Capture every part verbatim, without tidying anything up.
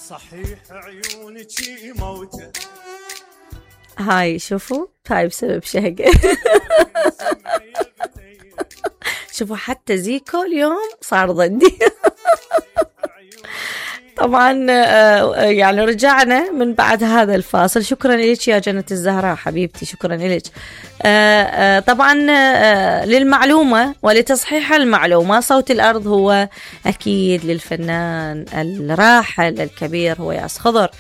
صحيح عيونك موتة. هاي شوفوا هاي بسبب شهقة. شوفوا حتى زيكو اليوم صار ضدي. طبعا يعني رجعنا من بعد هذا الفاصل. شكرا لك يا جنة الزهراء حبيبتي، شكرا لك. طبعا للمعلومة ولتصحيح المعلومة، صوت الأرض هو أكيد للفنان الراحل الكبير هو ياس خضر.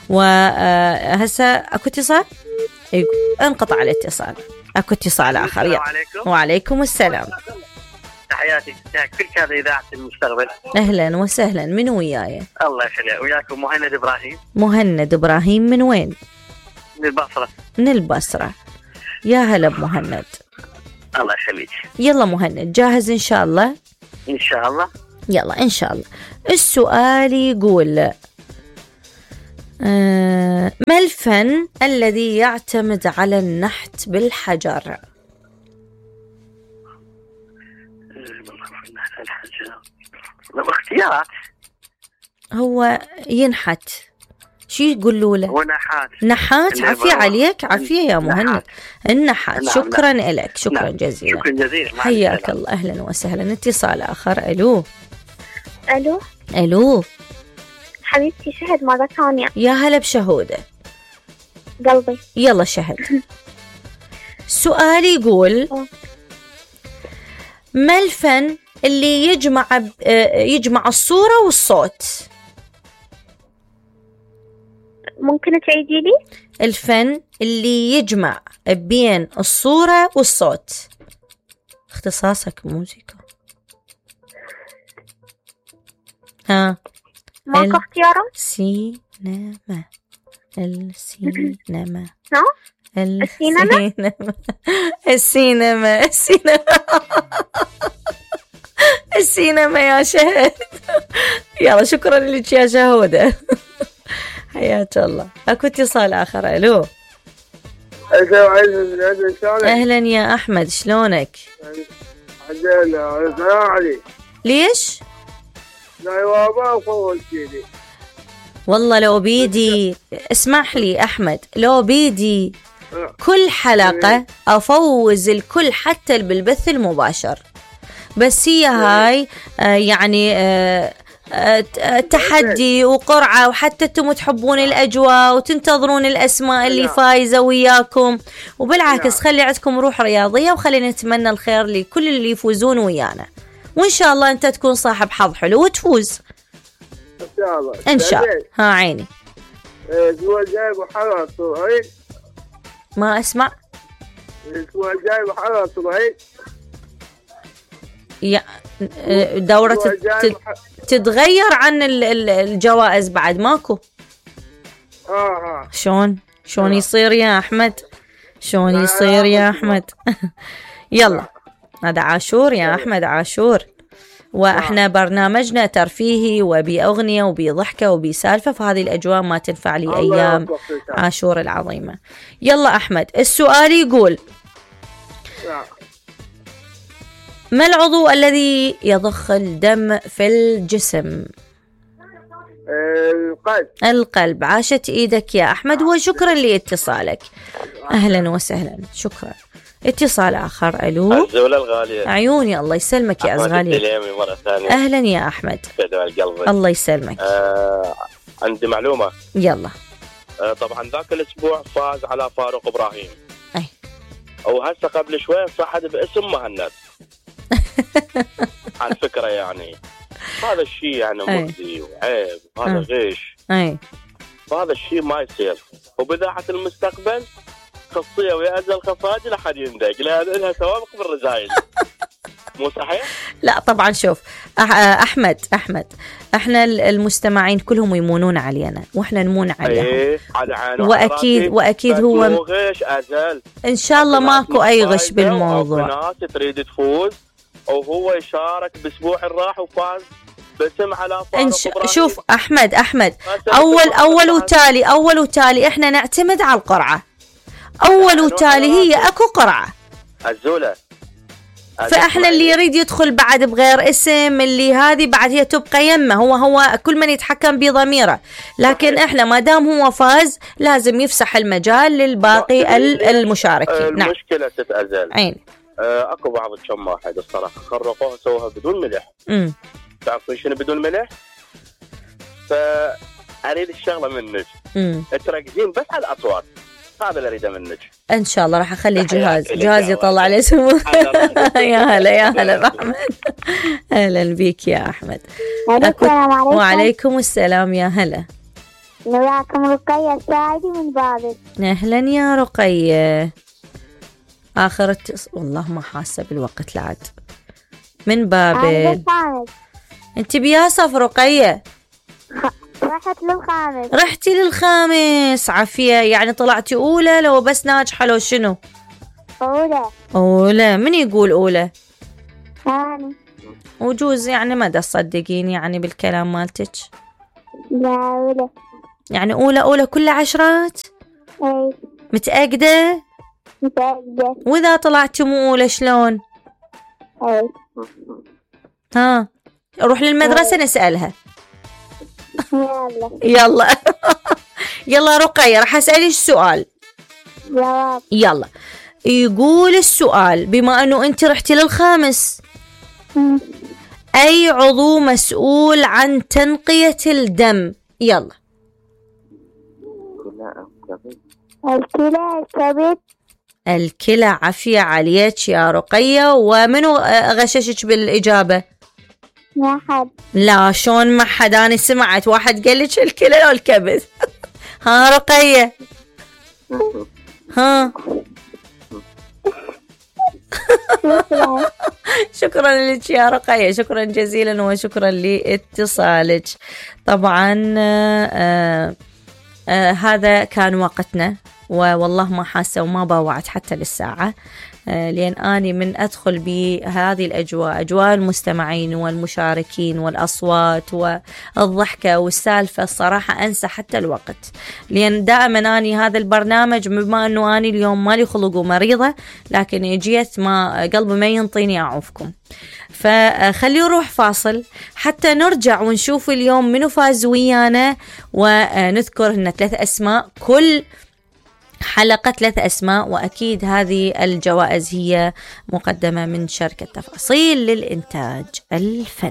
وهسه أكو اتصال، انقطع الاتصال، أكو اتصال آخر. السلام عليكم. وعليكم السلام. تحياتي كل هذا إذاعة المستقبل. أهلا وسهلا، من وياي؟ الله يخليك. وياكم مهند إبراهيم. مهند إبراهيم من وين؟ من البصرة. من البصرة، يا هلا بمهند. الله يخليك. يلا مهند جاهز إن شاء الله؟ إن شاء الله. يلا إن شاء الله. السؤال يقول آه ما الفن الذي يعتمد على النحت بالحجر؟ اختيارات. هو ينحت، شو يقولوا له؟ هو نحات. نحات. عافية عليك، عافية يا مهند. النحات. نعم. شكرا نعم. لك، شكرا نعم. جزيلا. شكرا جزيلا. حياك الله، أهلا وسهلا. اتصال آخر. ألو. ألو. ألو حبيبتي شهد مرة ثانية. يا هلا بشهودة قلبي. يلا شهد. سؤال يقول ما الفن اللي يجمع يجمع الصورة والصوت؟ ممكن تعيدي لي؟ الفن اللي يجمع بين الصورة والصوت. اختصاصك موسيقى. ها ماكو اختيارات؟ السينما. السينما. ها؟ السينما. السينما. السينما. السينما يا شهد. يلا شكرا لك يا شهودة. حياك الله. اكو اتصال آخر. ألو. أهلا يا أحمد، شلونك؟ ليش؟ والله لو بيدي، اسمح لي أحمد، لو بيدي كل حلقة أفوز الكل حتى بالبث المباشر، بس هي هاي آه يعني آه تحدي وقرعة، وحتى انتم تحبون الأجواء وتنتظرون الأسماء اللي فايزة وياكم، وبالعكس خلي عندكم روح رياضية، وخلينا نتمنى الخير لكل اللي يفوزون ويانا، وإن شاء الله أنت تكون صاحب حظ حلو وتفوز إن شاء الله. إن شاء الله. ها عيني. الأسبوع الجاي محرر صهيب. ما أسمع. الأسبوع الجاي محرر صهيب. يا دورة تتغير عن الجوائز بعد ماكو. اه اه شلون شلون يصير يا أحمد؟ شلون يصير يا أحمد؟ يلا هذا عاشور يا أحمد، عاشور، وإحنا برنامجنا ترفيهي وبأغنية وبضحكة وبسالفة، فهذه الأجواء ما تنفع لي أيام عاشور العظيمة. يلا أحمد، السؤال يقول ما العضو الذي يضخ الدم في الجسم؟ القلب. القلب. عاشت إيدك يا أحمد، وشكرا لاتصالك. أهلا وسهلا، شكرا. اتصال آخر. ألو. الزولة الغالية. عيوني، الله يسلمك يا أزغالي. مرة ثانية. أهلا يا أحمد. الله يسلمك. آه عندي معلومة. يلا. آه طبعا ذاك الأسبوع فاز على فاروق إبراهيم. أي. أو هسه قبل شوي صحد باسم مهند. على فكرة يعني هذا الشيء يعني مؤذي وعيب، وهذا غش. أي. وهذا الشيء ما يصير، وبإذاعة المستقبل خاصية ويأذى الخفاجي لحد يندق، لأن لها سوابق بالرذايل. مو صحيح؟ لا طبعا. شوف أحمد أحمد احنا المستمعين كلهم يمونون علينا واحنا نمون عليهم. ايه على عينه واكيد واكيد هو غش ازل. ان شاء الله ماكو اي غش بالموضوع. ناس تريد تفوز وهو يشارك باسبوع الراح وفاز باسم على فاروق إبراهيم. شوف احمد احمد اول اول وتالي اول وتالي احنا نعتمد على القرعه. اول وتالي هي اكو قرعه. الزوله فاحنا اللي يريد يدخل بعد بغير اسم اللي هذه بعد هي تبقى يمه، هو هو كل من يتحكم بضميره، لكن احنا ما دام هو فاز لازم يفسح المجال للباقي المشاركين. نعم المشكله تتأزل عين آه، اكو بعض الشماحد الصراحه خرقوها سووها بدون ملح. امم تعرفون شنو بدون ملح؟ فاريد الشغله منك تركزين بس على الاصوات، هذا اللي اريده منك. ان شاء الله راح اخلي جهاز جهاز يطلع لي سمو. يا هلا يا هلا باحمد. اهلا بيك يا احمد. السلام عليكم. وعليكم السلام يا هلا. وياكم رقية الساعدي من بابل. اهلا يا رقية. اخر التص... والله ما حاسه بالوقت لعد من بابل. انت بياسف رقية؟ رحت للخامس. رحتي للخامس عافية، يعني طلعتي أولى لو بس ناجحة لو شنو؟ أولى. أولى. من يقول أولى؟ أنا. وجوز يعني ما دا تصدقين يعني بالكلام مالتك؟ لا أولى. يعني أولى أولى كل عشرات؟ أي. متأكدة؟ متأكدة. وإذا طلعتي مو أولى شلون؟ أي. ها أروح للمدرسة أي. نسألها. يلا يلا يلا رقية راح أسألك سؤال. جواب. يلا يقول السؤال بما أنه أنت رحتي للخامس م. أي عضو مسؤول عن تنقية الدم؟ يلا. الكلى الكبد. الكلى. عافية عليك يا رقية. ومنو غششك بالإجابة؟ ما حد. لا شون ما حد، أنا سمعت واحد قال لك الكلى أو الكبد. ها رقية ها. شكرا لك يا رقية، شكرا جزيلا وشكرا لاتصالك. طبعا آآ آآ هذا كان وقتنا، والله ما حاسة وما باوعت حتى للساعة، لأن أني من أدخل بهذه الأجواء، أجواء المستمعين والمشاركين والأصوات والضحكة والسالفة، الصراحة أنسى حتى الوقت، لأن دائما أني هذا البرنامج بما أنه أني اليوم مالي خلق ومريضة، لكن جيت ما قلبي ما ينطيني أعوفكم، فخلي نروح فاصل حتى نرجع ونشوف اليوم منو فاز ويانا، ونذكر هن ثلاث أسماء، كل حلقة ثلاث أسماء، وأكيد هذه الجوائز هي مقدمة من شركة تفاصيل للإنتاج الفني.